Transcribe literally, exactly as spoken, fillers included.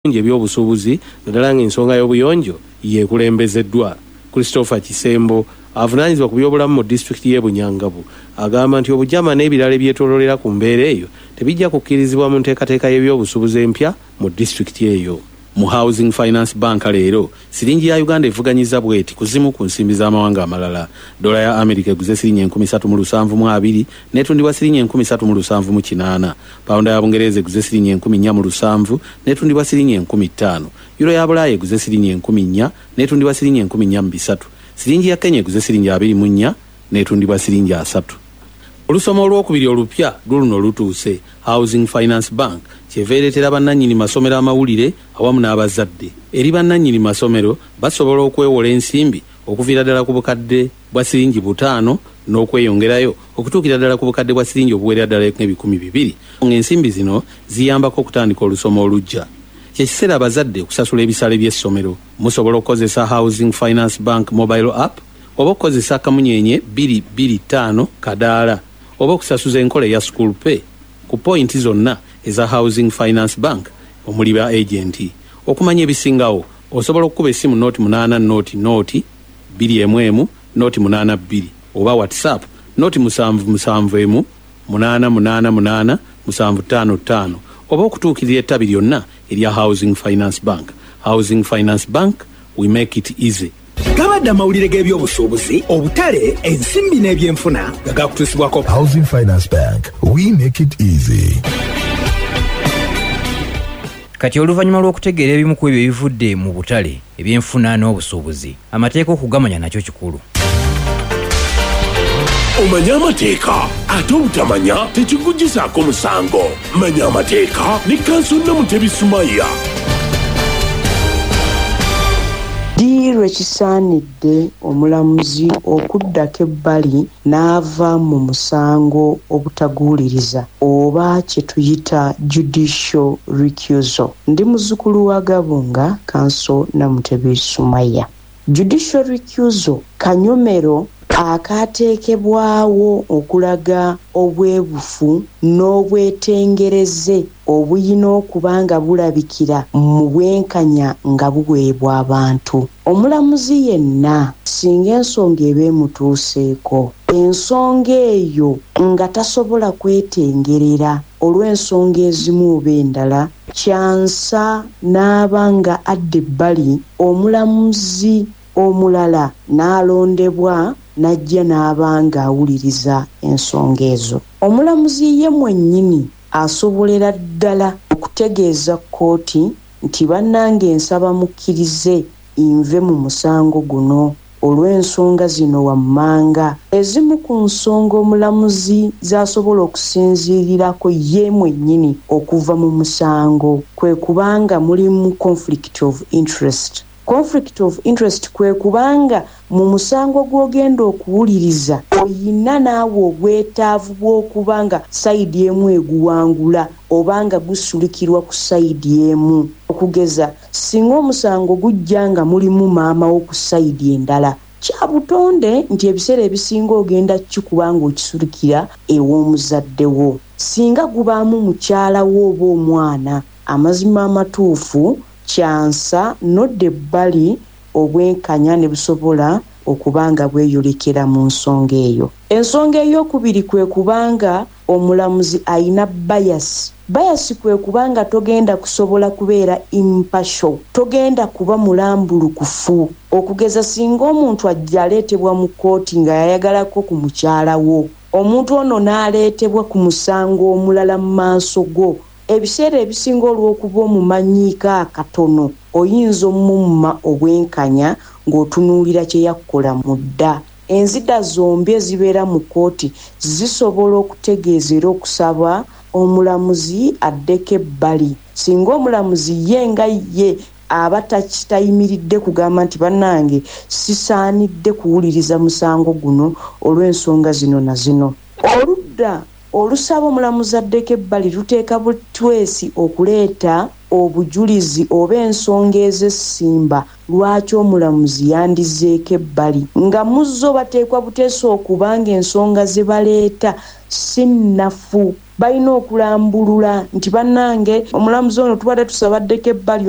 Ebyobusuubuzi, naddala ng'ensonga y'obuyonjo yeekulembezeddwa. Christopher Kisembo, avunaanyizibwa ku byobulamu mu disitulikiti y'e Bunyangabu, agamba nti obujama n'ebirala ebyetooloolera ku mbeera eyo tebijja kukkirizibwa mu nteekateeka y'ebyobusuubuzi empya mu disitulikiti eyo. Mu Housing Finance Bank leero, siringi ya Uganda evuganyiza bweti ku zimu ku nsimbi z'amawanga amalala: dola ya America eguze siringi enkumi ssatu mu lusanvu mu abiri n'etundibwa siringi enkumi ssatu mu lusanvu mu kinaana. Pawunda ya Bungereza eguze siringi enkumi nnya mu lusanvu n'etundibwa siringi enkumi ttaano. Euro ya Bulaaya eguze siringi enkumi nnya n'etundibwa siringi enkumi nnya mu bisatu. Siringi ya Kenya eguze siringi abiri mu nnya n'etundibwa siringi asatu. Olusoma olwokubiri olupya luluno lutuuse. Housing Finance Bank kyeva ereetera bannannyini masomero amawulire awamu n'abazadde. Eri bannannyini masomero, basobola okwewola ensimbi okuviira ddala ku bukadde bwa siringi butaano n'okweyongerayo okutuukira ddala ku bukadde bwa siringi obuwerera ddala ebikumi bibiri, ng'ensimbi zino ziyambako okutandika olusoma oluggya. Kyekiseera abazadde okusasula ebisale by'essomero. Musobola okukozesa Housing Finance Bank mobile app, oba okukozesa akamunyenye bbiri bbiri ttaano kadaala, oba okusasuza enkola eya School Pay ku pointi zonna eza Housing Finance Bank omuli ba agenti. Okumanya ebisingawo, osobola okukuba essimu nooti munaana nooti nooti bbiri emu emu nooti munaana bbiri, oba WhatsApp nooti musanvu musanvu emu munaana munaana munaana musanvu ttaano ttaano, oba okutuukirira ettabi lyonna erya Housing Finance Bank. Housing Finance Bank, we make it easy. Gabadde amawulire g'ebyobusuubuzi, obutale, ensimbi n'ebyenfuna nga gakutuusibwako Housing Finance Bank. We make it easy. Kati oluvannyuma lw'okutegeera ebimu ku ebyo ebivudde mu butale, ebyenfuna n'obusuubuzi, amateeka okugamanya nakyo kikulu. Omanye amateeka, ate obutamanya tekikugisaako musango. Manya amateeka ne Counsel Namutebi Sumaya. Ddi lwe kisaanidde omulamuzi okuddako ebbali n'ava mu musango obutaguwuliriza, oba kye tuyita judicial recusal? Ndi muzzukulu wa Gabunga, Counsel Namutebi Sumaya. Judicial recusal kanyomero akaateekebwawo okulaga obwebufu n'obwetengereze obuyina okuba nga bulabikira mu bwenkanya nga buweebwa abantu. Omulamuzi yenna singa ensonga eba emutuuseeko, ensonga eyo nga tasobola kwetengerera olw'ensonga ezimu oba endala, kyansa n'aba nga adda ebbali, omulamuzi omulala n'alondebwa n'ajja n'aba ng'awuliriza ensonga ezo. Omulamuzi ye mwennyini asobolera ddala okutegeeza kkooti nti, "Bannange, nsaba mukkirize nve mu musango guno olw'ensonga zino wammanga." Ezimu ku nsonga omulamuzi z'asobola okusinziirirako ye mwennyini okuva mu musango kwe kubanga mulimu conflict of interest. Conflict of interest kwe kubanga mu musango gw'ogenda okuwuliriza oyina naawe obwetaavu bw'okuba nga side emu eguwangula oba nga gusulikirwa ku side emu. Okugeza, singa omusango gujja nga mulimu maama wo ku side endala, kya butonde nti ebiseera ebisinga ogenda kikuba ng'okisulikira ew'omuzadde wo. Singa gubaamu mukyala wo oba omwana, amazima amatuufu kyansa nodda ebbali, obwenkanya ne busobola okuba nga bweyolekera mu nsonga eyo. Ensonga eyokubiri kwe kubanga omulamuzi ayina bias. Bias kwe kubanga togenda kusobola kubeera impartial, togenda kuba mulambulukufu. Okugeza, singa omuntu ajja aleetebwa mu kkooti nga yayagalako ku mukyala wo, omuntu ono n'aleetebwa ku musango omulala mu maaso go, ebiseera ebisinga olw'okuba omumanyiiko akatono, oyinza omumma obwenkanya ng'otunuulira kye yakkola mu dda. Enzida zombi ezibeera mu kkooti zisobola okutegeeza era okusaba omulamuzi addeko ebbali. Singa omulamuzi ye nga ye aba tayimiridde kugamba nti, "Bannange, sisaanidde kuwuliriza musango guno olw'ensonga zino na zino," oludda olusaba omulamuzi addeko ebbali luteeka butwesi okuleeta obujulizi oba ensonga ez'essimba lwaki omulamuzi yandizeeko ebbali, nga muzzo bateekwa buteesi okuba nga ensonga ze baleeta si nnafu. Balina okulambulula nti, "Bannange, omulamuzi ono tubadde tusaba addeko ebbali."